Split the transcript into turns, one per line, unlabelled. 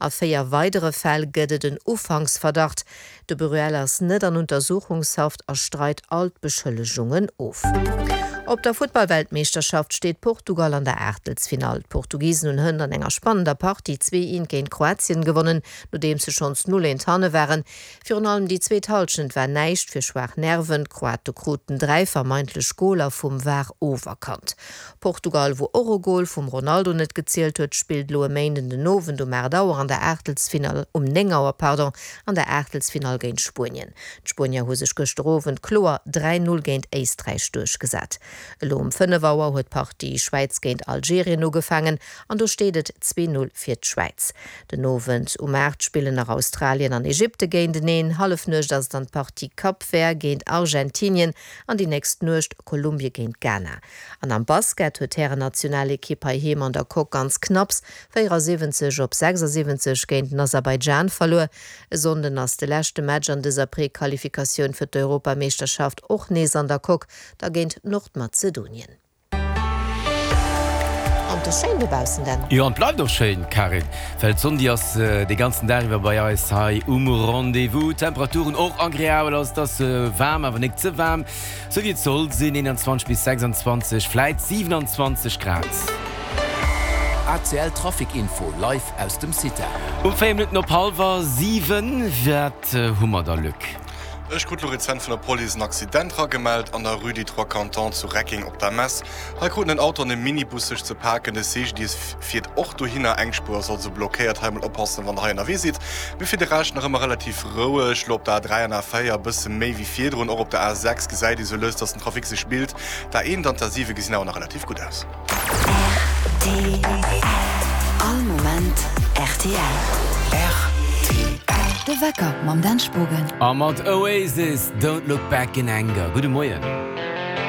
A 4 weidere Fäll gëtt et en Ufanksverdacht. De Bruel ass net an Untersuchungshaft a streit all d'Beschëllegungen of. Op der Futtballweltmeeschterschaft steet Portugal an der Aachtelsfinall. D'Portugisen hunn hënt an enger spannender Partie 2, 1 géint Kroatien gewonnen, nodeems se schonns 0, 1 hanne waren. Virun allem déi zweet Hallschent war näischt fir schwaach Nerven. D'Kroate kruten 3 vermeintlech Goler vum var oferkannt. Portugal, wou och e Gol vum Ronaldo net gezielt huet, spillt elo e Méinden den Owend um 8 Auer an der Aachtelsfinall, um 9 Auer, pardon, an der Aachtelsfinall géint Spuenien. D'Spuenier hu sech gëschter Owend kloer 3, 0 géint Éisträich duerchgesat. Elo um 5 Auer huet d'Partie Schwäiz géint Algerien ugefaangen an do steet et 2, 0 fir d'Schwäiz. Den Owend um 8 spillen nach Australien an Ägypte géinteneen. Hallefnuecht ass et dann d'Partie Cap Vert géint Argentinien an déi nächst Nuecht Kolumbie géint Ghana. An am Basket huet d'Härennationalekipp heiheem an der Coque ganz knapps 74 op 76 géint den Aserbaidschan verluer. E Sonnden ass de leschte Match an dëser Prequalifikatioun fir d'Europameeschterschaft och nees an der Coque, da géint Nordmazedonien. An et ass schéin dobaussen, Dan.
Jo, an et bleift och schéin, Karin, well d'Sonn déi ass de ganzen Dag iwwer bei eis hei um Rendez-vous. D'Temperaturen och agreabel, also et ass waarm, awer nik ze waarm. Sou wéi et soll sinn, 21 bis 26, vläit 27 Grad.
ACL Trafic Info live aus dem CITA.
Um 4 Minutten op hallwer 7, wat hu mer da Luc?
Ech krut lo rezent vun der Police en Accident ragemellt an der Rue des Trois Cantons zu Reckeng op der Mess. Hei kruten en Auto an e Minibus sech ze paken. De CGDIS fiert och dohinner. Eng Spuer ass also blockéiert. Hei mol oppassen, wann der hei ënnerwee sidd. Mee fir de Rescht nach ëmmer relativ roueg. Lo op der A3 an A4 e bësse méi wéi virdrun. Och op der A6 gesäit ee sou lues, dass den Trafic sech bilt. D'A1 an d'A7 gesinn awer nach relativ gutt aus.
Rtl. All Moment rtl.
Rtl.
De Wecker mam Dan Spogen.
A mat Oasis, Don't Look Back in Anger. Gudde Moien.